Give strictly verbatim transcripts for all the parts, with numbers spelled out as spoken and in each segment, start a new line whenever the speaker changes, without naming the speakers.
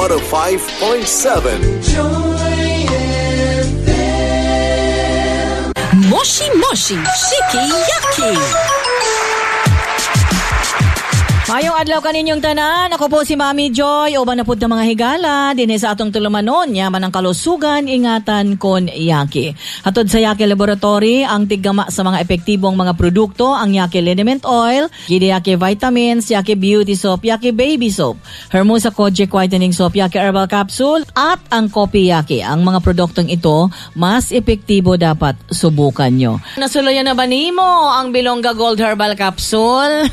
one oh five point seven.
Joy F M.
Moshi Moshi Shiki Yaki.
Mayong adlaw kaninyong tanan. Ako po si Mami Joy. Uban na pud ta mga higala dinhi sa atong tulumanon, yaman ang kalusugan, ingatan kon Yaki. Hatod sa Yaki Laboratory ang tiggama sa mga epektibong mga produkto, ang Yaki Liniment Oil, Gidi Yaki Vitamins, Yaki Beauty Soap, Yaki Baby Soap, Hermosa Kojic Whitening Soap, Yaki Herbal Capsule, at ang Kopi Yaki. Ang mga produktong ito, mas epektibo dapat subukan nyo. Nasulayan na ba nimo ang Bilongga Gold Herbal Capsule?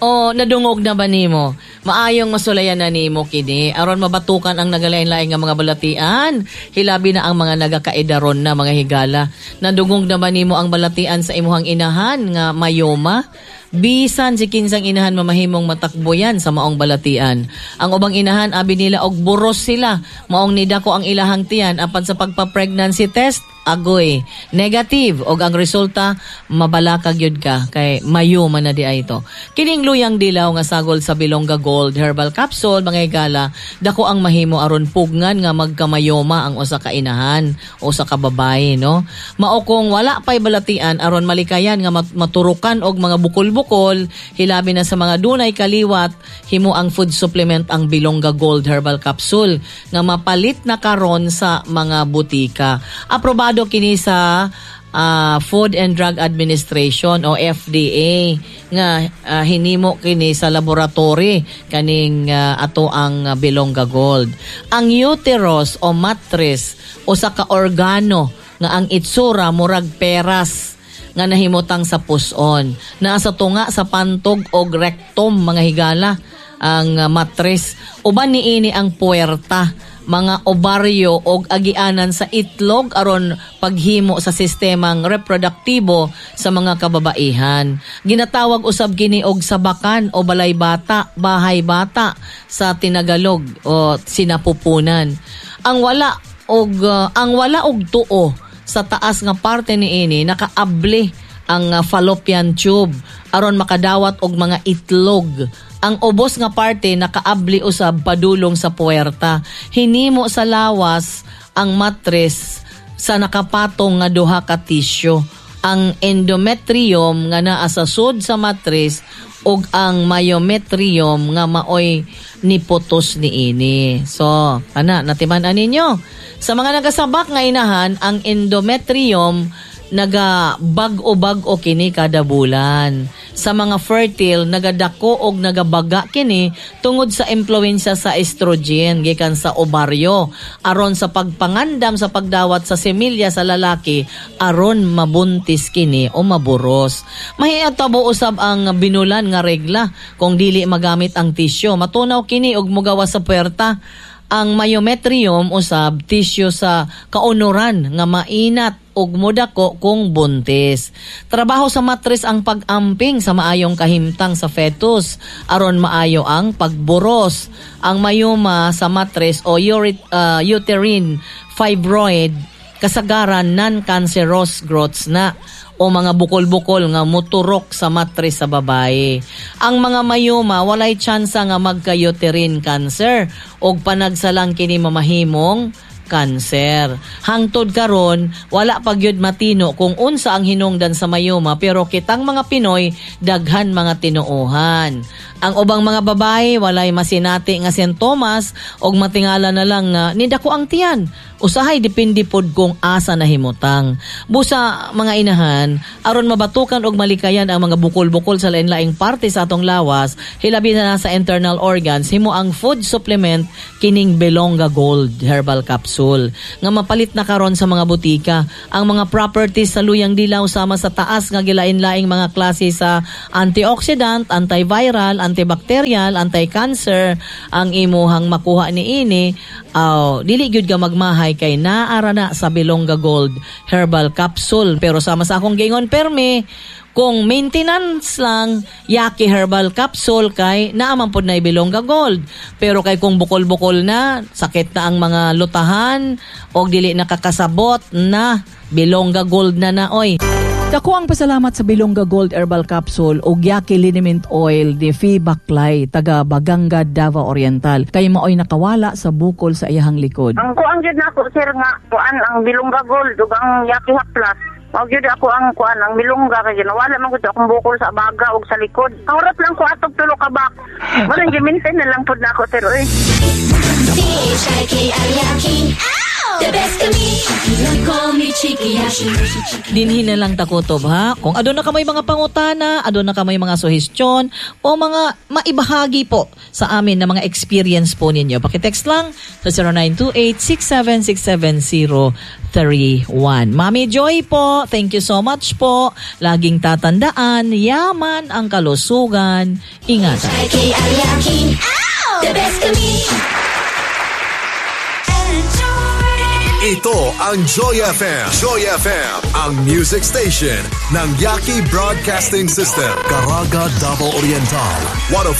O nadungog na ba nimo? Maayong masulayan na nimo kini aron mabatukan ang nagalain-lain nga mga balatian. Hilabi na ang mga nagakaedaron na mga higala. Nadungog na ba nimo ang balatian sa imuhang inahan nga mayoma? Bisan si kinsang inahan mamahimong matakboyan sa maong balatian. Ang ubang inahan abi nila og buros sila. Maong nidako ang ilahang tiyan apan sa pagpa-pregnancy test agoy negative og ang resulta mabalakag yun ka kay mayoma na di ay ito. Kining luyang dilaw nga sagol sa Bilongga Gold Herbal Capsule mga higala, dako ang mahimo aron pugnan nga magkamayoma ang usa ka inahan o sa ka babae, no. Mao kung wala pay balatian aron malikayan nga mat- maturukan og mga bukol-bukol, hilabi na sa mga dunay kaliwat, himo ang food supplement ang Bilongga Gold Herbal Capsule nga mapalit na karon sa mga butika. Aprobado kini sa ah, Food and Drug Administration o F D A nga, ah, hinimo kini sa laboratory kaning, ah, ato ang, ah, Bilongga Gold. Ang uterus o matris usa ka organo nga ang itsura murag peras nga nahimutang sa puson. Naa sa tunga sa pantog og rectum mga higala ang, ah, matris. Uban niini ang puwerta, mga ovaryo og agianan sa itlog aron paghimo sa sistemang reproduktibo sa mga kababaihan. Ginatawag usab kini og sabakan o balay bata, bahay bata sa Tinagalog o sinapupunan. Ang wala og, uh, ang wala og tuo sa taas nga parte niini nakaabli ang, uh, fallopian tube aron makadawat og mga itlog. Ang ubos nga parte nakaabli usab padulong sa puwerta. Hinimo sa lawas ang matres sa nakapatong nga duha ka tisyo. Ang endometrium nga naa sa sud sa matres ug ang myometrium nga maoy niputos niini. So, ana, natiman-an ninyo. Sa mga nagasabak nga inahan, ang endometrium nagabag-o-bag-o kini kada bulan. Sa mga fertile, nagadako og nagabaga kini tungod sa impluwensya sa estrogen gikan sa ovaryo aron sa pagpangandam sa pagdawat sa semilya sa lalaki aron mabuntis kini o maburos. Mahiatabo usab ang binulan nga regla kung dili magamit ang tisyo. Matunaw kini og mugawas sa puwerta. Ang myometrium usab tisyo sa kaunuran nga mainat ug modako kung buntis. Trabaho sa matres ang pag-amping sa maayong kahimtang sa fetus aron maayo ang pagburos. Ang myoma sa matres o urit-, uh, uterine fibroid kasagaran non-cancerous growths na o mga bukol-bukol nga muturok sa matres sa babae. Ang mga mayoma walay tsansa nga magka-uterine cancer og panagsalang kini mamahimong kanser. Hangtod karon wala pa gyud matino kung unsa ang hinungdan sa mayoma, pero kitang mga Pinoy daghan mga tinuohan. Ang ubang mga babae walay masinati nga sintomas og matingala na lang nga nidako ang tiyan. Usahay depende pod kung asa nahimutang. Busa mga inahan, aron mabatukan og malikayan ang mga bukol-bukol sa lain-laing parte sa atong lawas, hilabi na sa internal organs, himo ang food supplement kining Bilongga Gold Herbal Capsule nga mapalit na karon sa mga butika. Ang mga properties sa luyang dilaw sama sa taas nga gilain-laing mga klase sa antioxidant, antiviral, antibacterial, anti-cancer ang imuhang makuha niini. Aw, dili gyud ka magmahay kay naara na sa Bilongga Gold Herbal Capsule. Pero sama sa akong giingon permi, kung maintenance lang Yaki Herbal Capsule kay naaman pod na Bilongga Gold. Pero kay kung bukol-bukol na, sakit na ang mga lutahan og dili nakakasabot na, Bilongga Gold na na oy. Dako ang pasalamat sa Bilongga Gold Herbal Capsule ug Yaki Liniment Oil ni Fee Baklay, taga Baganga, Davao Oriental. Kay maoy nakawala sa bukol sa iyahang likod.
Ang kuan gyud nako, sir, nga kuan ang Bilongga Gold ug ang Yaki Hap Plus. Mao gyud ako ang kuan ang Bilongga kay ginawala man gud akong bukol sa baga ug sa likod. Ang lang ko atog tulo ka bak. Mo nang gi-maintain na lang pud nako, sir, oy.
C H I K I Yaki. The best kami. Call me Chiki Yashi.
Dinhi na lang takutob ha. Kung aduna kamoy mga pangutana, aduna kamoy mga suhestyon o mga maibahagi po sa amin na mga experience po ninyo. Pakitext lang sa zero nine two eight, six seven six seven zero three one. Mami Joy po, thank you so much po. Laging tatandaan, yaman ang kalusugan. Ingatan.
K I Yaki. The best kami.
Ito ang Joy F M. Joy F M, ang music station ng Yaki Broadcasting System. Caraga, Davao Oriental, one oh five point seven